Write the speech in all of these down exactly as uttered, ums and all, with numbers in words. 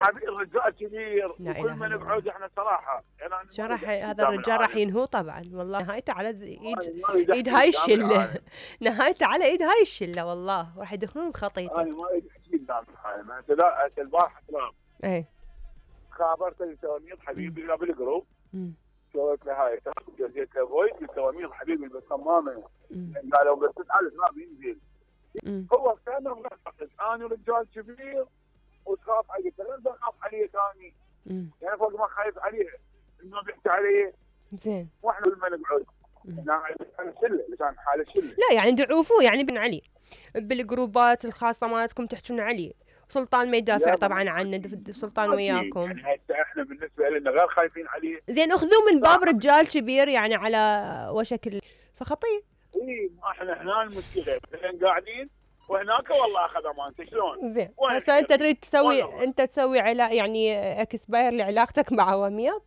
حبيبي الرجال كبير لا وكل إله ما إلا نقعد الله. احنا صراحه يعني أنا شو ما راح أريد أحكي هذا قدام الرجال راح العالم. ينهو طبعا، والله نهايته على ذ- ايد أنا ما أريد ايد أحكي هاي قدام الشله. العالم. نهايته على ايد هاي الشله والله، راح يدخلون خطيته. انا ما اريد احكي قدام العالم. هسه لا هسه البارحه ترى ايه خابرت التواميض حبيبي لا بالجروب، امم سويت له هاي جزيت له فويس التواميض حبيبي بالصمامه امم قالوا بس تسال ما بينزل. امم هو كان معتقد انا رجال كبير وتخاف علي، غير بخاف عليه ثاني امم يعني فوق ما خايف عليه انه بيحكي عليه. زين. واحنا لما نقعد كان شله كان حاله شله. لا يعني دعوفوه يعني بن علي بالجروبات الخاصه مالتكم تحجون عليه، سلطان ما يدافع لا، طبعا ما- عنه، دف- سلطان ما في. وياكم. يعني هسه احنا بالنسبه لنا غير خايفين عليه. زين اخذوه من باب صح. رجال كبير يعني على وشك ال- فخطيه. اي احنا هنا المشكله مثلا قاعدين وهناك والله اخذ امانته شلون؟ زين وين هسه انت خير؟ تريد تسوي والله. انت تسوي علا يعني اكسباير لعلاقتك مع وميض؟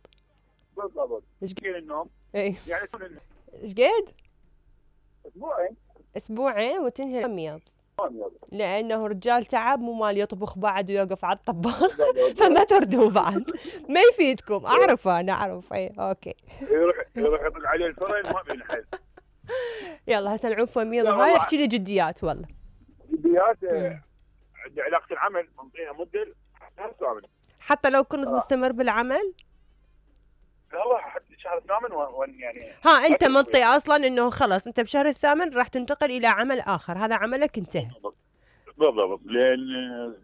بالضبط. ايش كل النوم ايه يعني يكون النوم ايش قد؟ اسبوعين اسبوعين وتنهي الوميض، ما يلا. لانه رجال تعب مو مال يطبخ بعد ويوقف على الطباخ. فما تردوا بعد، ما يفيدكم. اعرف انا اعرف. اي اوكي يروح يروح يطق عليه الفرن ما بينحل. يلا هسه نعوف وميض لا هاي والله. احكي لي جديات والله. جديات مم. عندي علاقه العمل منطيها مده شهر ثامن. حتى لو كنت آه. مستمر بالعمل؟ والله حتى شهر ثامن وين يعني. ها انت أكل منطي اصلا انه خلاص انت بشهر الثامن راح تنتقل الى عمل اخر، هذا عملك انتهى. بالضبط لان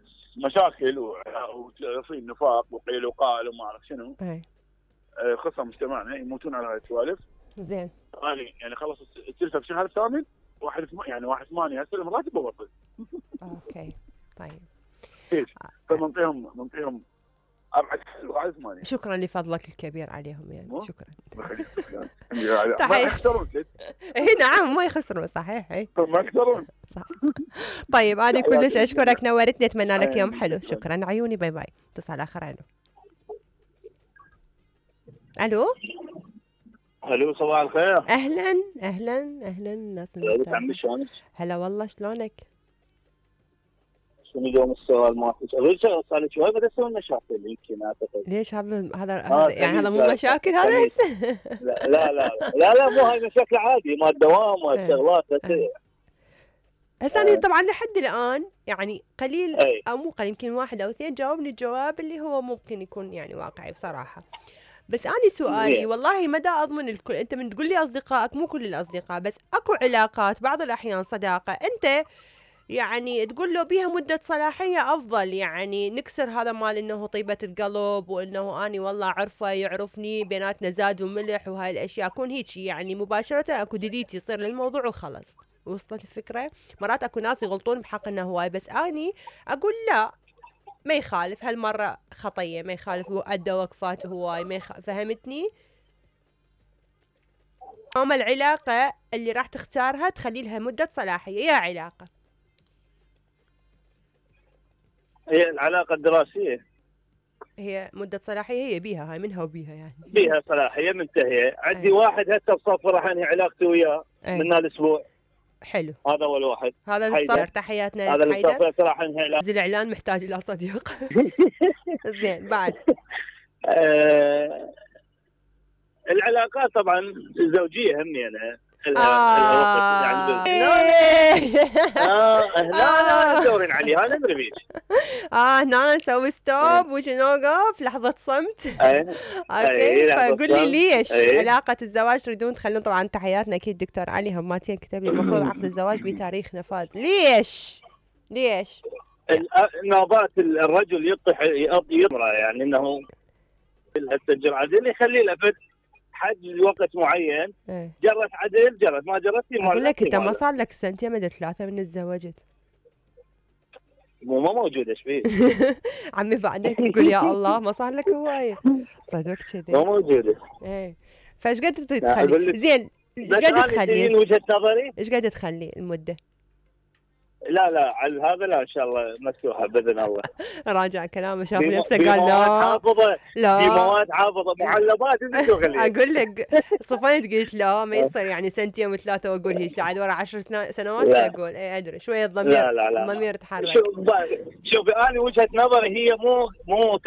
مشاكل ويصير نفاق وقيل وقال وما اعرف شنو. اي آه، خصم مجتمعنا يموتون على هاي السوالف. زين. انا يعني خلص السلفه في شهر الثامن واحد ثم- يعني واحد ثمانية استلم راتب وبطل. اوكي طيب ايش؟ فمنطيهم منطيهم ابعد واحد ثمانية. شكرا لفضلك الكبير عليهم يعني. مو؟ شكرا. ما تحية. يخسرون ست. اي نعم ما يخسرون صحيح. اي ما يخسرون. صح. طيب انا كلش تحياتي اشكرك، نورتني، اتمنى لك يوم أهلاً. حلو. شكرا عيوني، باي باي. اتصال اخر. الو الو الو صباح الخير. اهلا اهلا اهلا الناس يا عمي المحترمه. شلونك؟ هلا والله شلونك؟ شنو اليوم السؤال مالك؟ اقول شغله صار لي شوي بدا اسوي مشاكل يمكن اعتقد. ليش هذا هذا آه، هذا- يعني هذا مو خليج. مشاكل هذا خليج. هسه؟ لا لا لا لا, لا مو هاي مشاكل عادي مال دوام إيه. والشغلات بس. إيه. هسه انا طبعا لحد الان يعني قليل اي او مو قليل، يمكن واحد او اثنين جاوبني الجواب اللي هو ممكن يكون يعني واقعي بصراحه. بس اني سؤالي زين. والله مدى اضمن الكل. انت من تقول لي اصدقائك، مو كل الاصدقاء، بس اكو علاقات بعض الاحيان صداقه انت يعني تقول له بيها مدة صلاحية أفضل، يعني نكسر هذا مال إنه طيبة القلب وإنه أني والله عرفه يعرفني بيناتنا زاد وملح وهاي الأشياء، أكون هيك يعني مباشرة أكو ديليت يصير للموضوع وخلص. وصلت الفكرة؟ مرات أكو ناس يغلطون بحق إنه هواي، بس أني أقول لا ما يخالف هالمرة خطية، ما يخالف وأدى وقفات هواي ما يخ... فهمتني؟ أما العلاقة اللي راح تختارها تخلي لها مدة صلاحية يا علاقة. هي العلاقه الدراسيه هي مدة صلاحية هي بيها، هاي منها وبيها يعني. بيها صلاحيه منتهيه. عندي أي. واحد هسه بصف راح انهي علاقتي وياه أي. من الاسبوع. حلو. هذا اول واحد. هذا اللي حيدر. صار. تحياتنا هذا لك اللي حيدر. صف راح انهي علاقتي. الإعلان محتاج إلى صديق. زين بعد. آه العلاقات طبعا الزوجيه همينه لها لها وقت يعني بال- اه هنا ندورين عليها ندري بيش. اه هنا نسوي ستوب ونوقف لحظة صمت. اي اوكي لحظة فقول لي صمت. ليش أي. علاقة الزواج تريدون تخلون؟ طبعا تحياتنا اكيد دكتور علي هماتين كتب لي المفروض عقد الزواج بتاريخ نفاذ. ليش؟ ليش؟ نوبات الرجل يطيح يطمره يعني انه السجل عدل يخلي له فد حد وقت معين. ايه جرت عدل جرت ما جرت اقول لك انت ما صار لك سنتين مدى ثلاثة من تزوجت. مو ما موجود ايش فيه. عمي بعدك تقول يا الله ما صار لك هواية. صدق ما كذي. موجوده. ايه فايش قد أقول تخلي؟ لك- زين ايش بس قد انا تخلي؟ تجين وجهه نظري. ايش قد تخلي المدة؟ لا لا على هذا لا ان شاء الله مفتوحه باذن الله. راجع كلامه شاف في نفسه في قال مواد لا حافظه. في لا. مواد حافظه معلبات انت شو خليها. اقول لك صفنت قلت لا ما يصير يعني سنتين وثلاثة واقول هيك عاد ورا عشر سنا- سنوات شو لا. اقول؟ اي ادري شوية الضمير. لا لا لا الضمير تحرك. شوف شوفي انا وجهه نظري هي مو مو